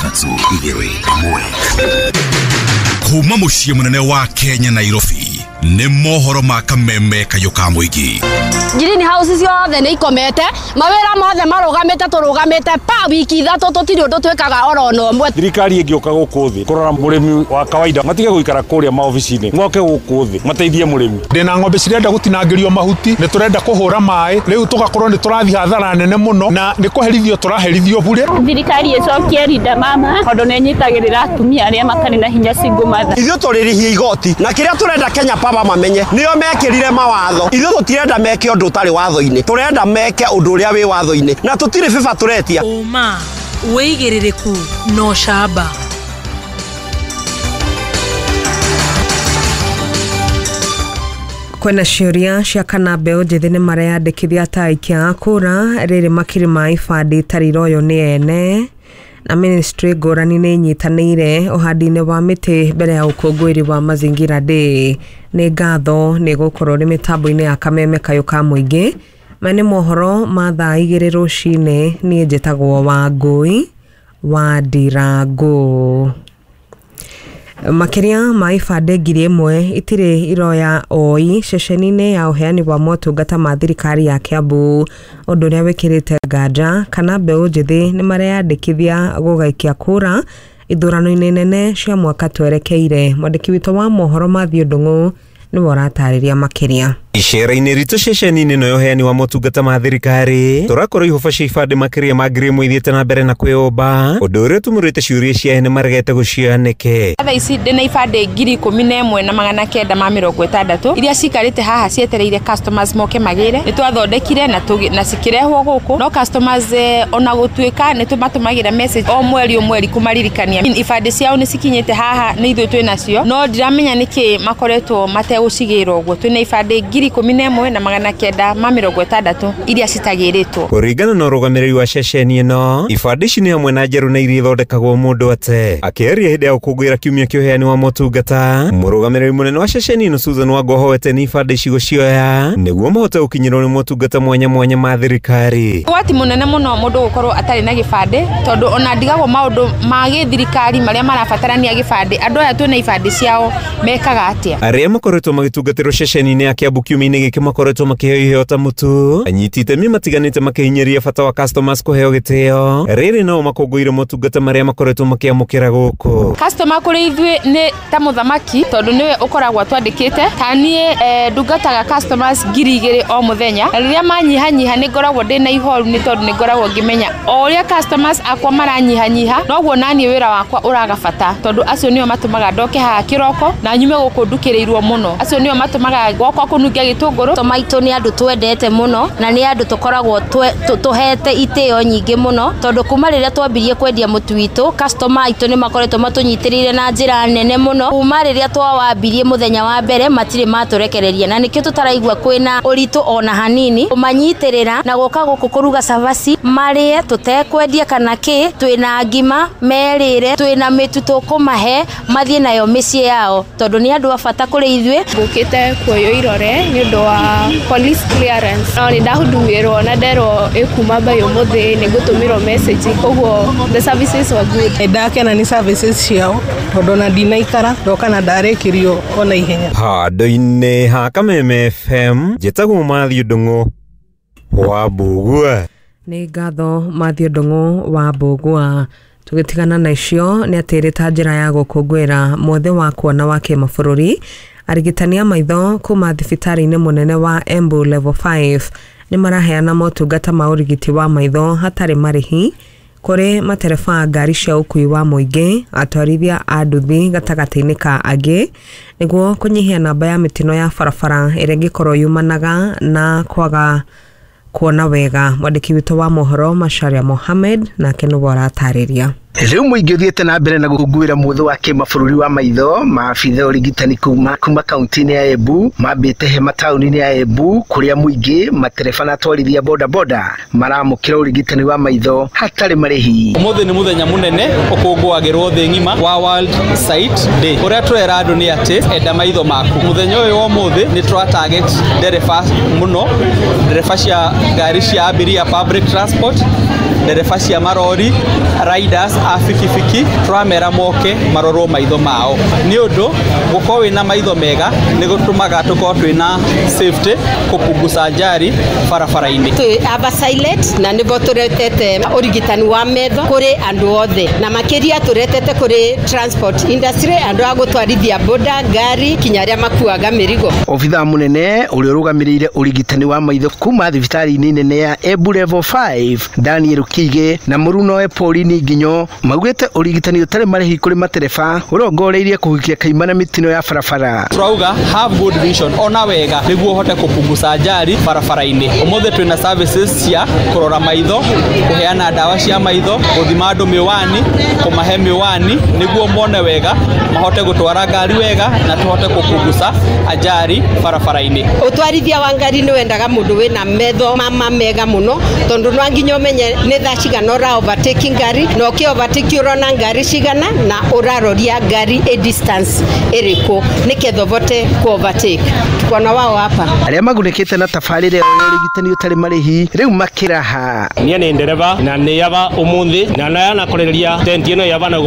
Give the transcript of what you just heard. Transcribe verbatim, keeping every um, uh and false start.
Ithatũ, igĩrĩ, ĩmwe. Kuma mũciĩ mũnene wa Kenya, Nairobi, nĩ mohoro ma Kameme Kayũ ka mũingĩ. Green house ciothe nĩ ikomete, mawĩra mothe marũgamĩte, tũrũgamĩte pa wiki ithatũ, tũtirĩ ũndũ twĩkaga oro na ũmwe. Thirikari ĩngĩũka gũkũ thĩ kũrora mũrĩmi wa kawaida, matige gũikara kũrĩa maobici-inĩ, moke gũkũ thĩ mateithie mũrĩmi. Ndĩna ng'ombe cirenda gũtinangĩrio mahuti, nĩ tũrenda kũhũra maĩ, rĩu tũgakorwo nĩ tũrathiĩ hathara nene mũno na nĩ kũherithio tũraherithio bure. Thirikari ĩcokie Linda Mama tondũ nĩ ĩnyitagĩrĩra atumia arĩa matarĩ na hinya, single mother. Ithuĩ tũrĩrĩhia igoti na kĩrĩa tũrenda Kenya Power mamenye nĩo mekĩrire mawatho. Ithuĩ tũtirenda meke ũndũ ũtarĩ watho-inĩ, tũrenda meke ũndũ ũrĩa wĩ watho-inĩ na tũtirĩ bĩba tũretia. Ũma, wĩigĩrĩrĩku na ũcamba. Kwĩna ciũria cia kana mbeũ njĩthĩ nĩ mareyandĩkithia ta aikia a kũra rĩrĩ makiri ma ibandĩ itarĩ iroywo nĩ ene, na ministry ngũrani nĩ inyitanĩire ũhandi-inĩ wa mĩtĩ mbere ya ũkũngũĩri wa Mazingira Day. Nĩ ngatho nĩ gũkorwo nĩ mĩtambo-inĩ ya Kameme Kayũ ka mũingĩ. Maya nĩ mohoro ma thaa igĩrĩ rũcinĩ. Niĩ njĩtagwo Wangũi wa Ndirangũ. Makĩria ma ibandĩ ngiri ĩmwe itirĩ iroya oi ceceni-inĩ ya ũheani wa motungata ma thirikari ya Kiambu, ũndũ ũrĩa wĩkĩrĩte nganja kana mbeũ njĩthĩ nĩ mareyandĩkithia gũgaikia kura ithurano-inĩ nene cia mwaka twerekeire. Mwandĩki witũ wa mohoro Matthew Ndung'u nĩwe ũratarĩria makĩria. Icera-inĩ ritũ ceceni-inĩ ĩno ya ũheani wa motungata ma thirikari, tũrakorwo ihoba cia ibandĩ makĩria ma ngiri ĩmwe ithiĩte na mbere na kwĩyũmba, ũndũ ũrĩa ũtumũrĩte ciũria cia ene maregete gũcioya nĩkĩ. Thaa ici ndĩna ibandĩ ngiri ikũmi na ĩmwe na magana kenda ma mĩrongo ĩtandatũ iria cikarĩte haha cietereire customers moke magĩre. Nĩ twathondekire na na cikĩrehwo gũkũ, no customers eh, ona gũtuĩka nĩ tũmatũmagĩra message o mweri o mweri kũmaririkania ibandĩ ciao nĩ cikinyĩte haha, nĩ ithuĩ twĩ nacio, no ndiramenya nĩkĩ makoretwo mategũcigĩra ũguo. Twĩna ibandĩ ngiri ikũmi na ĩmwe na magana kenda ma mĩrongo ĩtandatũ iria citagĩrĩtwo. Kũringana na ũrũgamĩrĩri wa ceceni ĩno, ibandĩ ici nĩ hamwe na njerũ na iria ithondekagwo mũndũ ate. Akĩaria hĩndĩ ya gũkũngũĩra kiumia kĩa ũheani wa motungata, mũrũgamĩrĩri mũnene wa ceceni ĩno Susan Wangũ ahoete nĩ ibandĩ ici gũcioya nĩguo mahote gũkinyĩrwo nĩ motungata mwanya mwanya ma thirikari. Ũgwati mũnene mũno mũndũ gũkorwo atarĩ na gĩbandĩ, tondũ ona ndigagwo maũndũ ma gĩthirikari marĩa marabatarania gĩbandĩ, andũ aya twĩna ibandĩ ciao mekaga atĩa? Arĩa makoretwo magĩtungatĩrwo ceceni-inĩ ya Kiambu kiumia-inĩ gĩkĩ makoretwo makĩheo iheo ta mũtu, anyiti itemi matiganĩte makĩhinyĩrĩria bata wa customers kũheo gĩtĩo, rĩrĩ nao makũngũĩire motungata marĩa makoretwo makĩamũkĩra gũkũ. Customer kũrĩ ithuĩ nĩ ta mũthamaki, tondũ nĩwe ũkoragwo twandĩkĩte. Ta niĩ eh, ndungataga customers ngiri igĩrĩ o mũthenya, na rĩrĩa manyihanyiha nĩ ngoragwo ndĩna ihoru, nĩ tondũ nĩ ngoragwo ngĩmenya o ũrĩa customers akwa maranyihanyiha noguo naniĩ wĩra wakwa ũraga bata, tondũ acio nĩo matũmaga ndoke haha kĩroko na nyume gũkũ ndukĩrĩirwo mũno. Acio nĩo matũmaga gwakwa kũnungia gĩtũngũrũ. Customer aitũ nĩ andũ twendete mũno na nĩ andũ tũkoragwo tũhete itĩo nyingĩ mũno, tondũ kuma rĩrĩa twambirie kwendia mũtu witũ, customer aitũ nĩ makoretwo matũnyitĩrĩire na njĩra nene mũno. Kuma rĩrĩa twawambirie mũthenya wa mbere matirĩ matũrekereria, na nĩkĩo tũtaraigua kwĩna ũritũ ona hanini kũmanyitĩrĩra na gũka gũkũ kũruga cabaci marĩe tũtekwendia kana kĩ. Twĩna ngima merĩre, twĩna mĩtu tũkũmahe mathiĩ nayo mĩciĩ yao, tondũ nĩ andũ a bata kũrĩ ithuĩ. Ngũkĩte kuoywo irore nĩ ũndũ wa police clearance, no nĩ ndahudumirwo na nderwo ĩkuma by ũmũthĩ nĩ ngũtũmĩrwo message, koguo the services were good. Ndakena nĩ services ciao tondũ ona ndinaikara ndoka na ndarĩkĩrio ona ihenya. Handũ-inĩ ha Kameme F M, njĩtagwo Matthew Ndung'u wa Mbũgua. Nĩ ngatho Matthew Ndung'u wa Mbũgua. Tũgĩtigana na icio nĩ atĩ ta njĩra ya gũkũngũĩra mwothe wa kuona wa kĩmabũrũri, arigitani a maitho kuma thibitarĩ-inĩ mũnene wa Embu Level five nĩ maraheana motungata ma ũrigiti wa maitho hatarĩ marĩhi kũrĩ matereba ngari cia ũkui wa mũingĩ, atwarithia a nduthi gatagatĩ-inĩ ka angĩ, nĩguo kũnyihia namba ya mĩtino ya barabara ĩrĩa ĩngĩkorwo yumanaga na kwaga kuona wega. Mwandĩki witũ wa mohoro Macharia Mohamed nake nĩwe ũratarĩria. Rĩu mũingĩ ũthiĩte na mbere na gũkũngũĩra mwothe wa kĩmabũrũri wa maitho. Maabitha ũrigitani kuma kuma kaunti-inĩ ya Embu mambĩte hema taũni-inĩ ya Embu kũrĩa mũingĩ matereba na atwarithia boda boda maramũkĩra ũrigitani wa maitho hatarĩ marĩhi. Ũmũthĩ nĩ mũthenya mũnene ũkũngũagĩrwo thĩ ng'ima wa World Sight Day. Ũrĩa tũrera andũ nĩ atĩ enda maitho maku. Mũthenya ũyũ wa ũmũthĩ nĩ tũra target ndereba mũno, ndereba cia ngari cia abiria public transport, ndereba cia marori, riders a bikibiki, tũramera moke marorwo maitho mao nĩ ũndũ gũkorwo wĩna maitho mega nĩ gũtũmaga tũkorwo twĩna safety kũpunguza ajali barabara-inĩ. Twĩ Ava Silent na nĩbo tũretete ũrigitani wa metho kũrĩ andũ othe na makĩria tũretete kũrĩ transport industry, andũ a gũtwarithia boda, ngari, kinya arĩa makuaga mĩrigo. Obithaa mũnene ũrĩa ũrũgamĩrĩire ũrigitani wa maitho kuma thibitarĩ-inĩ nene ya Embu Level five Daniel Kiige na mũrunoe Pauline Nginyo maugĩte ũrigitani ũtarĩ marĩhi kũrĩ matereba ũrongoreirie kũhukia kaimana mĩtino ya barabara. Turauga have good vision, ona wega nĩguo ũhote kũpunguza ajali barabara-inĩ. Ũmũthĩ twĩna services cia kũrora maitho, kũheana ndawa cia maitho, gũthima andũ mĩwani, kũmahe mĩwani nĩguo mone wega, mahote gũtwara ngari wega na tũhote kũpunguza ajali barabara-inĩ. Ũtwarithia wa ngari nĩ wendaga mũndũ wĩna metho mama mega mũno tondũ no nginya ũmenye nĩ thaa cigana ũra overtake ngari na ũkĩ overtake ũrona ngari cigana na ũraroria ngari ĩ distance ĩrĩkũ nĩketha ũvote ku overtake. Tuko na wao hapa. Arĩa magunĩkĩte na tabarĩra ya ũrigitani ũtarĩ marĩhi rĩu makĩraha. Niĩ nĩ ndereba na nĩ yaba ũmũthĩ na nayanakoreria tenti ĩno yaba na